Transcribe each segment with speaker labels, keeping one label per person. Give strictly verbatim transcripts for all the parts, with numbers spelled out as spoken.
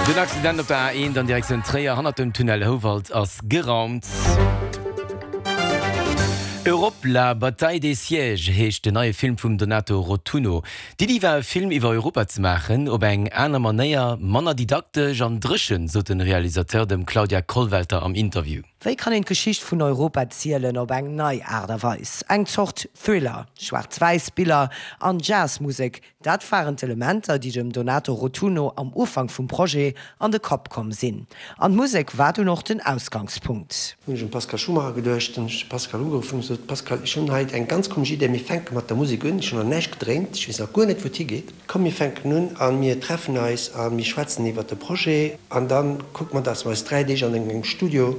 Speaker 1: Den Accident op der A eent an Direktioun Tréier hannert dem Tunnel Houwald ass geraumt. Europe, la bataille des sièges heescht den neie Film vum Donato Rotunno. D'Iddi war e Film iwwer Europa ze maachen, op eng aner Manéier, manner didaktesch an dréchen, sot de Realisateur dem Claudia Kollwelter am Interview.
Speaker 2: Wéi kann een d'Geschicht vun Europa erzielen op eng nei Aart a Weis? Eng Zort Thriller, schwaarz-wäiss Biller an Jazzmusek, dat waren d'Elementer, déi dem Donato Rotunno am Ufank vum Projet an de Kapp komm sinn. An d'Musek war dunn och den Ausgangspunkt.
Speaker 3: Hunn ech un Pascal Schumacher geduecht, hunn ech de Pascal ugeruff hunn gesot, Pascal, ech hunn hei eng ganz komesch Idee, mir fänke mat der Musek un, ech hunn nach näischt gedréint, ech weess nach guer net wou et higeet, komm mir fänken un a mir treffen eis a mir schwätzen iwwert de Projet an da kucke mer, dass mer eis dräi Deeg an engem Studio,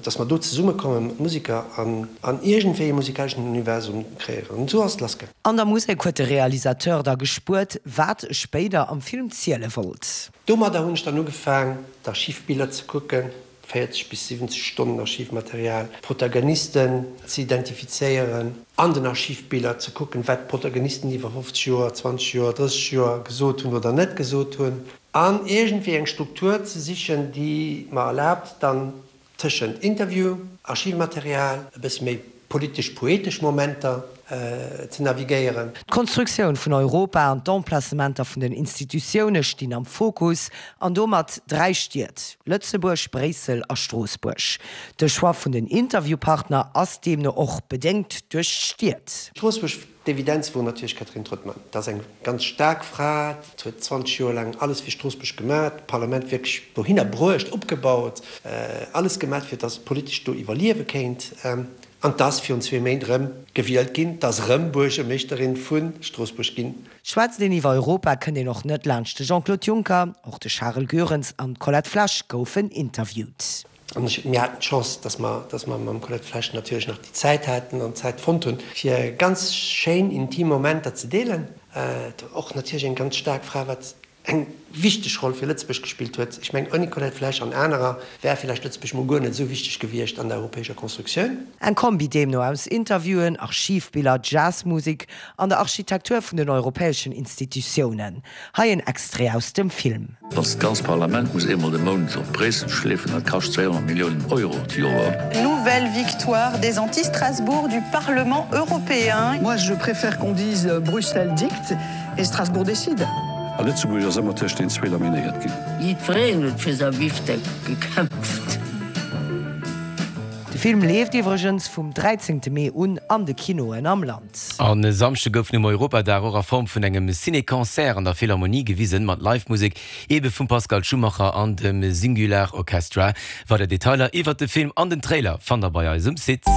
Speaker 3: dass mer do zesummekomme mat Museker an an iergendwéi e musikaleschen Universum kreéieren. An esou ass et lassgaangen.
Speaker 2: An der Musek huet de Realisateur da gespuert, wat e spéider am Film ziele wollt.
Speaker 3: Domadder hunn ech dann ugefaang, d'Archivbiller ze kucken, véierzeg bis siwwenzeg Stonnen Archivmaterial, d'Protagonisten ze identifizéieren, an den Archivbiller ze kucken, wat d'Protagonisten iwwer fofzeg Joer, zwanzeg Joer, drësseg Joer gesot hunn oder net gesot hunn, an iergendwéi eng Struktur ze sichen, déi mer erlaabt, dann tëschent Interview, Archivmaterial, e bësse méi politesch-poetesch Momenter ze navigéieren.
Speaker 2: D'Konstruktioun vun Europa an d'Emplacementer vun den Institutioune stinn am Fokus, an domat dräi Stied, Lëtzebuerg, Bréissel a Stroossbuerg. De Choix vun den Interviewpartner ass deemno och bedéngt duerch d'Stied.
Speaker 3: Stroossbuerg, D'Evidenz wor natierlech d'Catherine Trottmann. Dat ass eng ganz staark Fra, déi huet zwanzeg Joer laang alles fir Stroossbuerg gemaach, d'Parlament wierklech dohinner bruecht, opgebaut, alles gemaach, fir datt et politesch do iwwerliewe kéint. An 't ass virun zwee Méint erëm gewielt ginn, 't ass erëm Buergermeeschterin vu Stroossbuerg ginn.
Speaker 2: Schwätzt een iwwer Europa, kënnt een och net laanscht de Jean-Claude Juncker. Och de Charel Goerens an d'Colette Flesch goufen interviewt.
Speaker 3: An ech, mir haten d'Chance, dass mer, dass mer mam Colette Flesch natierlech nach déi Zäit haten an d'Zäit fonnt hunn, fir ganz schéin intim Momenter ze deelen. Och natierlech eng ganz staark Fra, wat eng wichteg Roll fir Lëtzebuerg gespillt huet. Ech mengen, ouni Colette Flesch an anerer wär villäicht Lëtzebuerg mol guer net esou wichteg gewiescht an der europäescher Constructioun.
Speaker 2: Eng Kombi deemno aus Interviewen, Archivbiller, Jazzmusek an der Architektur vun den europäeschen Institutiounen. Hei en Extrait aus dem Film.
Speaker 4: Wann s d'ganzt Parlament muss eemol de Mount op Bréissel schleefen, dat kascht zweehonnert Milliounen Euro d'Joer.
Speaker 5: Nouvelle victoire des anti-Strasbourg du Parlement européen.
Speaker 6: Moi je préfère qu'on dise Bruxelles dicte et Strasbourg décide.
Speaker 7: A Lëtzebuerg ass ëmmer tëscht den zwee laminéiert ginn.
Speaker 8: Jiddwereen huet fir säi Bifdeck gekämpft.
Speaker 2: De Film leeft iwwregens vum dräizéngte Mee un an de Kinoen am Land.
Speaker 1: An e Samschde gouf nom Europadag och a Form vun engem Ciné-Concert an der Philharmonie gewisen, mat Live-Musek ebe vum Pascal Schumacher an dem Singular Orchestra. Weider Detailer iwwert de Film an den Trailer fannt der bei eis um Site.